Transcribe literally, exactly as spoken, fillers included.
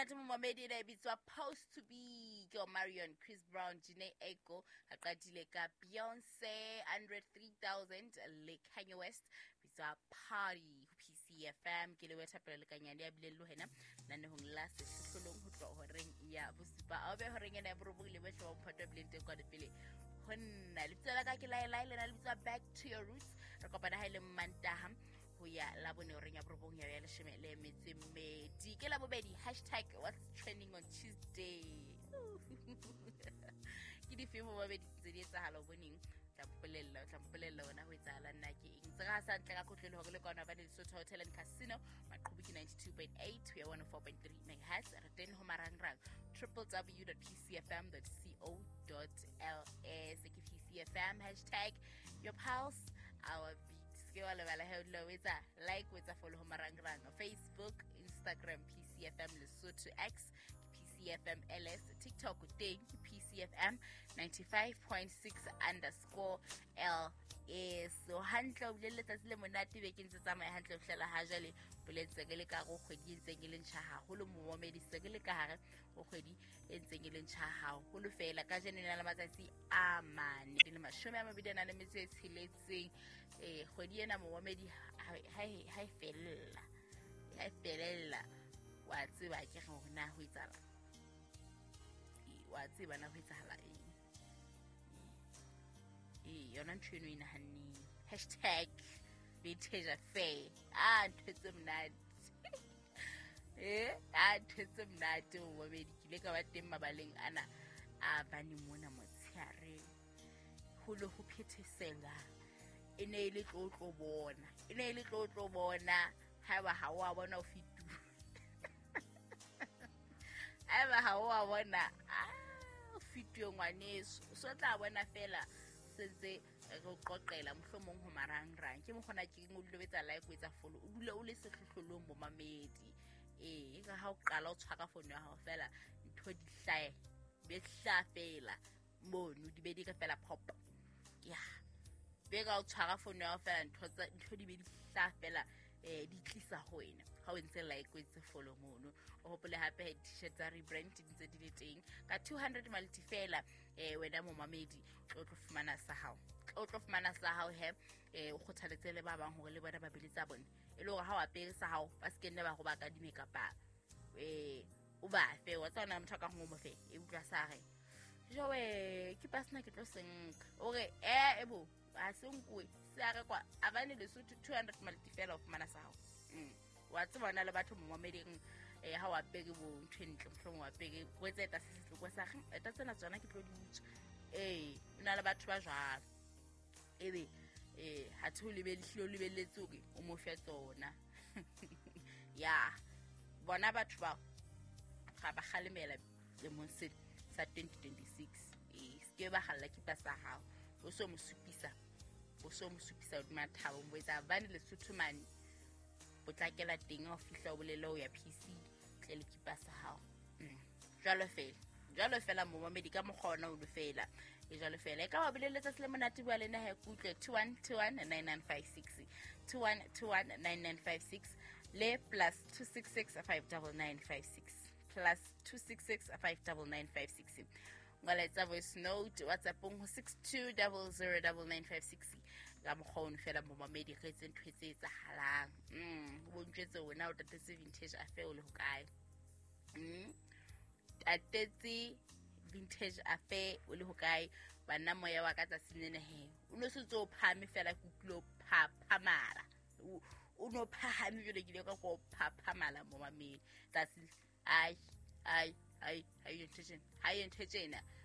Monate momamedi, ena e bitswa "Post to Be" ke Omarion, Chris Brown, Jhené Aiko. A qadile ka Beyonce, Andre three thousand le Kanye West, bitswa "Party" ho P C F M. Ke le wethapelo lekanyane ya bileng le wena nanehong la Sehlohlolong ho tloha horeng ya bosupa a be horeng ena ya borobong le bohle ba mophato wa bileng teng kwane pele ho nna. Lebitso la ka ke Laelae, lena le bitswa "Back to Your Roots". Re kopana ha e le Mantaha ho ya Labone horeng ya borobong ya ya leshome le metso e mmedi. Ke Labobedi, hashtag what's trending on Tuesday. Ke difeng momamedi tse di etsahala o boneng? Tla mpolella, o tla mpolella ona ho etsahala nna ke eng tse ga sa ntle ka kotlelo hore le kwana ba Lesotho Hotel and Casino, maqhubu ke ninety-two point eight ho ya one oh four point three megahertz. Re teng ho marangrang, w w w dot p c f m dot co dot l s ke P C F M, hashtag your pulse, our beat. Se ke wa lebala he o dula o etsa like, o etsa follow ho marangrang, Facebook, Instagram, P C F M Lesotho, X ke P C F M L S, TikTok teng ke P C F M ninety-five point six underscore L S. So hantle, o bile le letsatsi le monate bekeng tse tsamaya hantle ho fihlela ha jwale. Boletse ke le ka go kgwedi e ntseng e le ntjha haholo momamedi, se ke le ka hare ho kgwedi e ntseng e le ntjha haholo fela. Ka jeno e na le matsatsi a mane le mashome a mabedi a nang le metso e tsheletseng. um kgwedi ena momamedi ha ha e fella, ha e felella, wa tseba ke re hore na ho etsahala, wa tseba na ho etsahala eng. Ee, yona ntho eno e nahanneng, hashtag vintage affair. A ntho tse monate, eh a ntho tse monate momamedi. Ke ile ka ba teng mabaleng ana a bane mona motshehare, ho le ho phethesela. E ne e le tlo tlo bona, e ne e le tlo tlo bona. Haeba ha o a bona, o fetuwe. Haeba ha o a bona, o fetuwe ngwaneso. O so tla bona fela sentse re o qoqela mohlomong ho marangrang. Ke mokgona ke o dule o etsa like, o etsa follow, o dule o le sehlohlolong momamedi. Ee, ka ha o qala o tshwara fono ya hao fela, ntho di hlahe, be hlaha fela mono, di be di re fela pop ya be ka o tshwara fono ya hao fela, ntho tsa ntho di be di hlaha fela, eh di tlisa ho wena ha o ntse like, o ntse follow mono. O hopole hape t-shirt tsa rebrand di ntse di le teng ka two hundred malti fela. eh wena momamedi, tlo tlo fumana sa hao, tlo tlo fumana sa hao he. eh o kgothaletse le ba bang hore le bona ba bele tsa bone, e le hore ha o apere sa hao ba se ke nne ba go ba kadime kapa eh o ba fe wa tsona motho a ka gongwe mo fe e utlwa sa re jowe ke pasena ke tlo senka o re e ebo ha se nkuwe se a rekwa a bane Lesotho two hundred malti fela o fumana sa hao. mm. Wa tseba ona le batho momameding, um ha o apere bo ntho e ntle, mohlomong o apere o etse eta se setle ko sa eta tsena tsona ke tlo di utswa. Ee, o na le batho ba jwalo, ebe um ha the o hlile o lebelletse hore o mo fe tsona ya bona. Batho bao ga ba kgalemela lemong se sa twenty twenty-six. Ee, se ke ba galla kipa sa hao, o so mo supisa, o so mo supisa hodima thabo, mo etsa bane Lesotho mane potlakela teng. Ha o fihla o bolele o ya P C tle le kipa sa hao. mm. jwalo fela, jwalo fela momamedi, ka mokgwa ona o lo fela e jwalo fela. E ka ba bolele letsatsi le monate. Bua le nna he kutlwe, two one two one nine nine five six, two one two one nine nine five six le plus two six six five nine nine five six, plus two six six five nine nine five six. Ngwaletsa voice note WhatsAppong ho six two zero zero nine nine five six. Ka mokgwa ono fela momamedi, re etse ntho e tse etsahalang. mm o bontšetse wena o tatetse vintage affair o le hokae? mm tatetse vintage affair o le hokae? Banna, moya wa ka tsatsing lena he o no sentse o phahame fela, ke utlwile o phaphamala, o no phahame jwale ke ile ka ko phaphamala momamedi tsatsi. Ai ai ai, ha e ntho tjena, ha e ntho tjena.